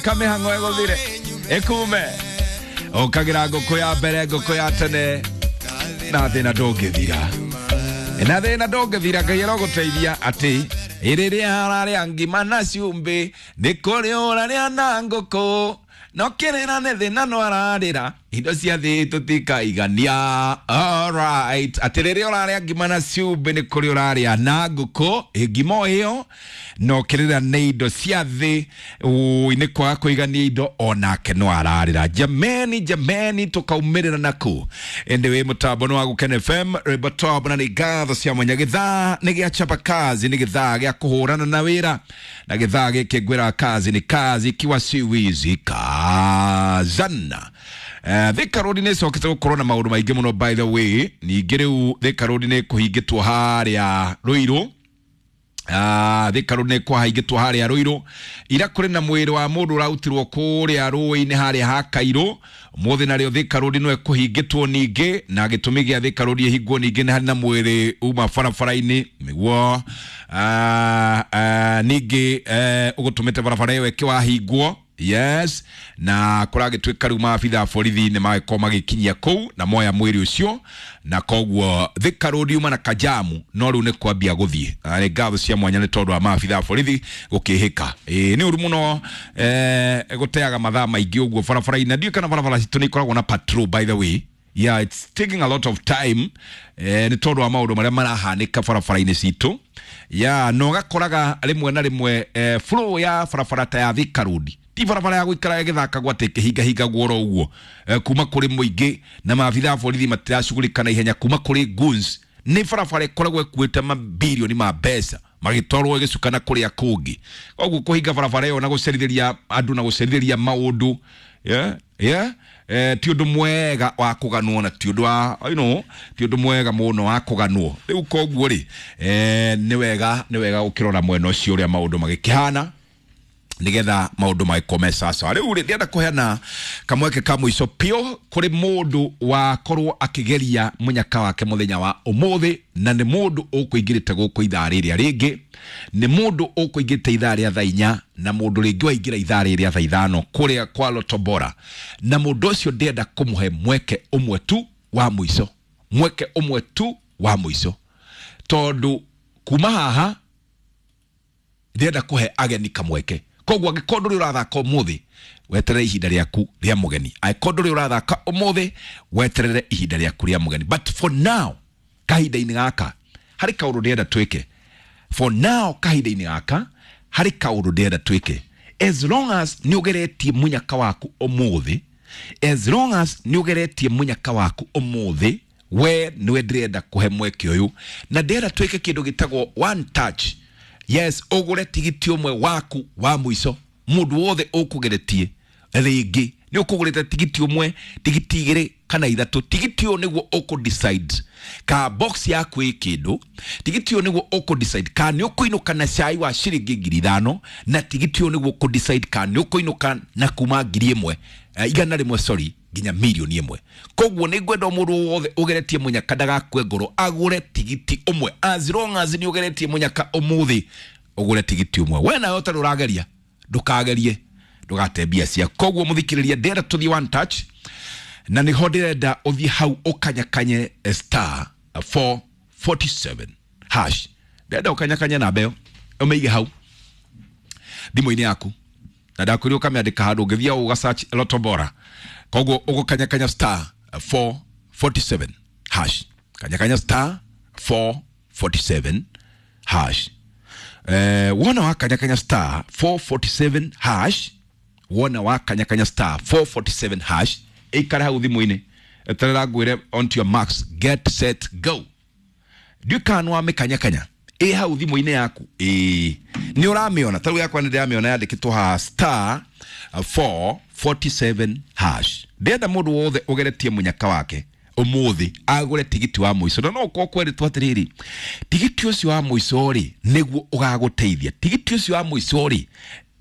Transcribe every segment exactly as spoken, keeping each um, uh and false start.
Reka mĩhang'o ĩgũthire ĩkume. Ũkagĩra ngũkũ ya mbere, ngũkũ ya tene, na thĩna ndũngĩthira, na thĩna ndũngĩthira. Ngai arogũteithia atĩ rĩrĩa ararĩa ngima na cumbĩ nĩ kũrĩ ũrarĩa na ngũkũ, no kĩrĩra nĩ thĩna no ararĩra indo cia thĩ tũtikaigania. Alright, atĩ rĩrĩa ũrarĩa ngima na cumbĩ nĩ kũrĩ ũrarĩa na ngũkũ, ngima o ĩyo no kĩrĩra nĩ indo cia thĩ, ũi nĩ kwaga kũigania indo onake no ararĩra. Jameni, jameni, tũkaumĩrĩra naku ĩndĩ wĩ mũtambo nĩ wa Gũkena F M rwĩmbo top, na nĩ ngatho cia mwanya. Gĩthaa nĩ gĩa chapa kazi, nĩ gĩthaa gĩa kũhũrana na wĩra, na gĩthaa gĩkĩ ngwĩra kazi ni kazi ikiwa si wizi kazana. Uh, Thika Road nĩ ĩcokete gũkorwo na maũndũ maingĩ mũno, by the way. Ningĩ rĩu Thika Road nĩ kũhingĩtwo harĩa Ruiru. Ah, Thika Road nĩ kwahingĩtwo harĩa Ruiru. Ira kũrĩ na mwĩrĩ wa mũndũ ũrarutirwo kũrĩa rũĩ-inĩ harĩa ha Kairũ. Ũmũthĩ narĩo Thika Road no ĩkũhingĩtwo ningĩ, na gĩtũmi gĩa Thika Road ĩhingwo ningĩ nĩ harĩ na mwĩrĩ uma barabara-inĩ nĩguo, ah, ah, ningĩ, eh, ũgũtũmĩte barabara ĩyo ĩkĩwahingwo. Yes, na kũragĩtuĩka rĩu maabitha a borithi nĩ magĩkorwo magĩkinyia kũu na moya mwĩrĩ ũcio, na koguo Thika Road yuma na kajamu no rĩu nĩ kwambia gũthiĩ. Na nĩ ngatho cia mwanya nĩ tondũ wa maabitha a borithi gũkĩhĩka. Ĩĩ, nĩ ũru mũno, eh, gũteaga mathaa maingĩ ũguo barabara-inĩ. Na ndiũĩ kana barabara citũ nĩ ikoragwo na patrol, by the way. Yeah, it's taking a lot of time, eh, nĩ tondũ wa maũndũ marĩa marahanĩka barabara-inĩ citũ. Yeah, na ũgakoraga rĩmwe na rĩmwe, eh, flow ya barabara ta ya Thika Road ti barabara ya gũikara ĩgĩthakagwo atĩ ĩkĩhingahingagwo oro ũguo, eh, kuma kũrĩ mũingĩ na maabitha a borithi matiracugurika na ihenya kuma kũrĩ goons. Nĩ barabara ĩkoragwo ĩkuĩte mabirioni ma mbeca magĩtwarwo ĩgĩcukana kũrĩa kũngĩ. Koguo kũhinga barabara ĩyo na gũcerithĩria andũ na gũcerithĩria maũndũ, yeah, yeah, eh, ti ũndũ mwega wa kũganwo, na ti ũndũ wa, you know, ti ũndũ mwega mũno wa kũganwo. Rĩu koguo rĩ, eh, nĩ wega, nĩ wega gũkĩrora mwena ũcio ũrĩa maũndũ magĩkĩhana nigetha maũndũ magĩkorwo me sawa. Rĩu rĩ, ndĩrenda kũheana kamweke ka mũico piũ kũrĩ mũndũ wakorwo akĩgeria mũnyaka wake mũthenya wa ũmũthĩ, na nĩ mũndũ ũkũingĩrĩte gũkũ ithaa rĩrĩa rĩngĩ, nĩ mũndũ ũkũingĩrĩte ithaa rĩa thaa inya, na mũndũ rĩngĩ waingĩra ithaa rĩrĩa thaa ithano kũrĩa kwa Lotto Bora, na mũndũ ũcio ndĩrenda kũmũhe mweke ũmwe tu wa mũico, mweke ũmwe tu wa mũico, tondũ kuma haha ndĩrenda kũhe ageni kamweke. Koguo angĩkorwo ndũrĩ ũrathaka ũmũthĩ, weterere ihinda rĩaku rĩa mũgeni. Angĩkorwo ndũrĩ ũrathaka ũmũthĩ, weterere ihinda rĩaku rĩa mũgeni. But for now, kahinda-inĩ gaka, harĩ kaũndũ ndĩrenda twĩke. For now, kahinda-inĩ gaka, harĩ kaũndũ ndĩrenda twĩke. As long as nĩ ũgeretie mũnyaka waku ũmũthĩ, as long as nĩ ũgeretie mũnyaka waku ũmũthĩ, we nĩwe ndĩrenda kũhe mweke ũyũ. Na ndĩrenda twĩke kĩndũ gĩtagwo one touch. Yes, ũgũre tigiti ũmwe waku wa mũico. Mũndũ wothe ũkũgeretie rĩngĩ nĩ ũkũgũrĩte tigiti ũmwe, tigiti igĩrĩ kana ithatũ. Tigiti ũyũ nĩguo ũkũ decide ka box yaku ĩ kĩndũ. Tigiti ũyũ nĩguo ũkũ decide ka nĩ ũkũinũka na cai wa ciringi ngiri ithano, na tigiti ũyũ nĩguo ũkũ decide ka nĩ ũkũinũka na kuma ngiri ĩmwe, eh, igana rĩmwe, sorry, nginya mirioni ĩmwe. Koguo nĩ ngwenda mũndũ wothe ũgeretie mũnyaka ndagakue ngoro, agũre tigiti ũmwe. As long as nĩ ũgeretie mũnyaka ũmũthĩ, ũgũre tigiti ũmwe. We nawe ũtarĩ ũrageria, ndũkagerie, ndũgate mbia ciaku. Koguo mũthikĩrĩria, ndĩrenda tũthiĩ one touch, na nĩho ndĩrenda ũthiĩ hau ũkanyakanye star four forty seven hash. Ndĩrenda ũkanyakanye namba ĩyo, ũmĩige hau thimũ-inĩ yaku, na ndakwĩrire ũkamĩandĩka handũ, ũngĩthiĩ ũga search Lotto Bora. Koguo ũgũkanyakanya star four forty seven hash, kanyakanya star four forty seven hash. Eh, wona wakanyakanya star four forty seven hash, wona wakanyakanya star four forty seven hash, ikara hau thimũ-inĩ, eterera ngwĩre on to your marks, get set go. Ndiũĩ kana nĩ wamĩkanyakanya ĩ hau thimũ-inĩ yaku. Ĩ nĩ ũramĩona? Ta rĩu yakwa nĩ ndĩramĩona yandĩkĩtwo haha star four forty seven hash. Ndĩrenda mũndũ wothe ũgeretie mũnyaka wake ũmũthĩ agũre tigiti wa mũico. Na no ũkorwo kwerĩtwo atĩrĩrĩ, tigiti ũcio wa mũico rĩ nĩguo ũgagũteithia. Tigiti ũcio wa mũico rĩ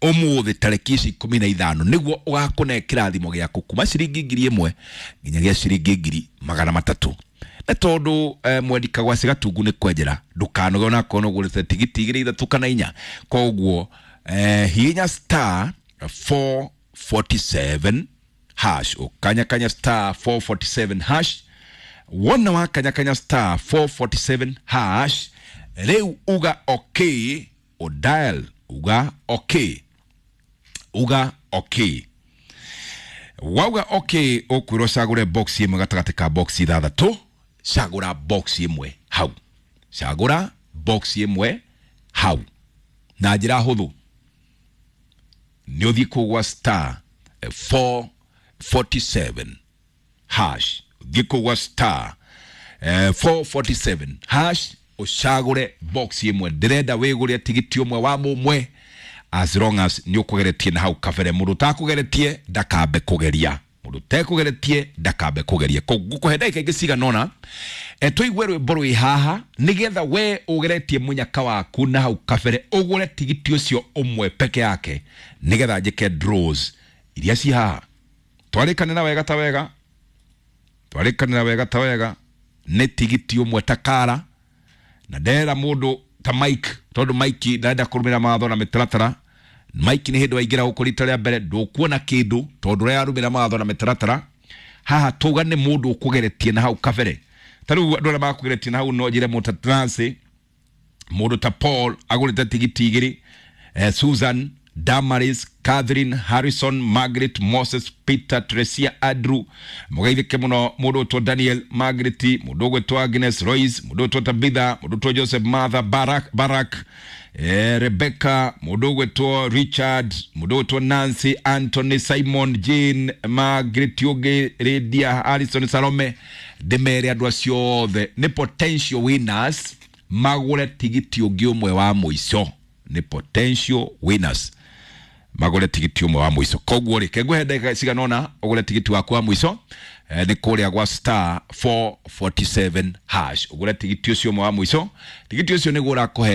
ũmũthĩ tarĩki ici ikũmi na ithano nĩguo ũgakũne kĩrathimo gĩaku kuma ciringi ngiri ĩmwe nginyagia ciringi ngiri magana matatũ. Na tondũ, eh, mwendi kagwacĩ gatungu nĩ kwenjera, ndũkanoge onakorwo nĩ ũgũrĩte tigiti igĩrĩ ithatũ kana inya. Koguo, eh, hihinya star four forty-seven hash. Ukanyakanya star four forty-seven hash. Wona wakanyakanya star four forty-seven hash, rĩu uga okay, o dial uga okay, uga okay. Wauga okay, ũkwĩrwo cagũre box ĩmwe gatagatĩ ka box ithathatũ. Cagũra box ĩmwe hau, cagũra box ĩmwe hau na njĩra hũthũ. Nĩ ũthiĩ kũgwa star four forty-seven hash, ũthiĩ kũgwa star four forty-seven hash, ũcagũre box ĩmwe. Ndĩrenda wĩgũre tigiti ũmwe wa mũmwe, as long as nĩ ũkũgeretie na hau kabere. Mũndũ ũtakũgeretie ndakambe kũgeria, mũndũ ũtekũgeretie ndakambe kũgeria. Ngũkũhe ndagĩka ingĩ cigana ũna e tũigue rwĩmbo rwĩ haha, nĩgetha we ũgeretie mũnyaka waku na hau kabere ũgũre tigiti ũcio ũmwe peke yake, nĩgetha njĩke draws iria ci haha. Twarĩkanĩra wega ta wega, twarĩkanĩra wega ta wega, nĩ tigiti ũmwe ta kara. Na ndera mũndũ ta Mike, tondũ Mike ndarenda kũrũmĩrĩra mawatho na mĩtaratara. Mike nĩ hĩndĩ waingĩra gũkũ rita rĩa mbere ndũkuona kĩndũ tondũ ũrarũmĩrĩra mawatho na mĩtaratara. Haha tuga nĩ mũndũ ũkũgeretie na hau kabere. Ta rĩu andũ arĩa makũgeretie na hau no njĩre mũndũ ta Nancy, mũndũ ta Paul agũrĩte tigiti igĩrĩ, eh, Susan, Damaris, Catherine, Harrison, Margaret, Moses, Peter, Tresia, Andrew, mũgeithĩke mũno mũndũ ũtwo Daniel, Margaret, mũndũ ũgwĩtwo Agnes, Royce, mũndũ ũtwo Tabitha, mũndũ ũtwo Joseph, Martha, Barak, Barak, eh, Rebecca, mũndũ ũgwĩtwo Richard, mũndũ ũgwĩtwo Nancy, Anthony, Simon, Jane, Margaret ũngĩ, Lydia, Harrison, Salome. Ndĩmere andũ acio othe nĩ potential winners, magũre tigiti ũngĩ ũmwe wa mũico. Nĩ potential winners magũre tigiti ũmwe wa mũico. Koguo rĩ, kengũhe ndagĩka cigana ũna ũgũre tigiti waku wa mũico, eh, nĩ kũrĩa gwa star four forty-seven hash, ũgũre tigiti ũcio ũmwe wa mũico. Tigiti ũcio nĩguo ũrakũhe